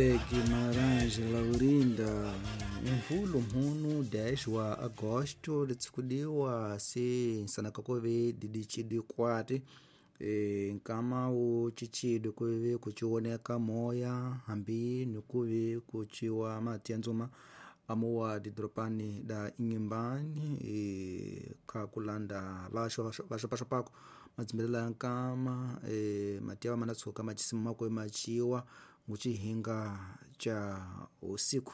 Guimarães Laurinda Mvulu mhunu 10 wa agosto litsukudiwa si nsanaka kuve didicidi kwati nkama ucicidi kuve kuciwoneka moya hambi nikuve kuciwa mati ya nzuma amuwa didoropani da Inhambane kakulanda vaxopaxopako madzimbelela ya nkama mati awa manatshuka macisima makwe maciwa mucihinga ca usiku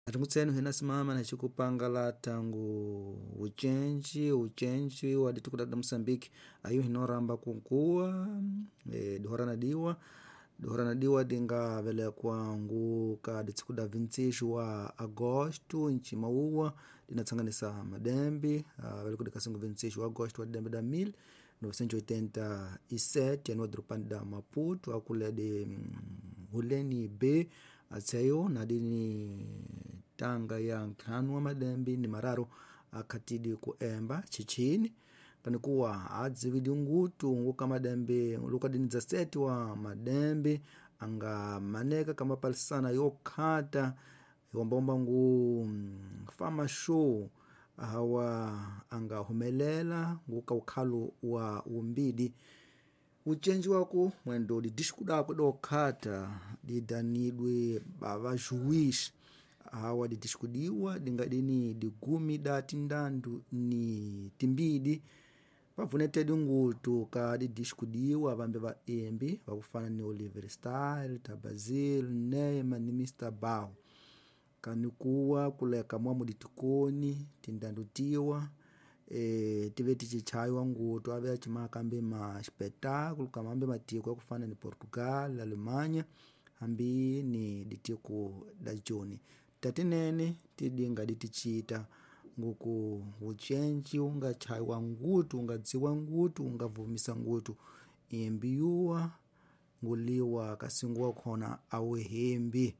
atingutsenu hina simama na cikupangala tangu ucenji wa dituku da Moçambique ayu hinoramba kunkuwa dihora na diwa dinga velekwa ngu ka ditsiko da 26 wa agosto ncima uwa dinatsanganisa madembe veleko dikasingu 26 wa agosto wa dembe da 1987 yani wadropani da Maputo akule de huleni b atseyo nadini tanga ya nkhanu wa madembe ni mararo akhatidi kuemba chichini panikuwa adziwidi ngutu nguka madembe luka dini 17 wa madembe anga maneka kama palisana yokhata iwombaomba ngu fama show hawa anga humelela nguka ukhalu wa umbidi ucenji waku mwendo didisco dako dokhata didanidwe bavajuiz hawa didisco diwa dingadini digumi da tindandu ni timbidi vavunetedi ngutu ka didisco diwa vambe vaembi vakufana ni Oliver Style, Tabazil, Neymar ni Mr. Bao kanikuwa kuleka mwamu ditikoni tindandu tiwa tive ticichaiwa ngutu ave acimaka ambi ma espetáculo kama ambi matiko akufana ni Portugal, Alemanha ambi ni ditiko da joni tatinene tidinga diticita nguku ucenji ungachaiwa ngutu ungadziwa ngutu ungavumisa ngutu imbi yuwa nguliwa kasinguwa khona awihimbi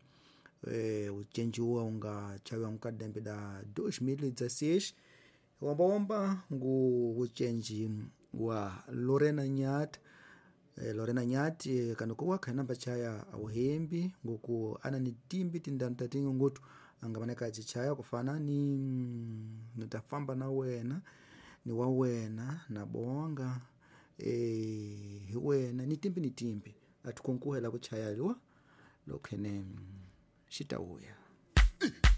ucenji uwa ungachawiwa nkadembe da 2016 wombaomba ngu ucenji wa Lorena Nyat Lorena Nyat kanukuwa khainamba chaya awuhimbi nguku ana ni timbi tindanu tatingi ngutu angamaneka acichaya kufana ni nitafamba na wena ni wa wena na bonga hi wena ni timbi ni timbi atikunkuhela kuchaya liwa lokhene xitauya.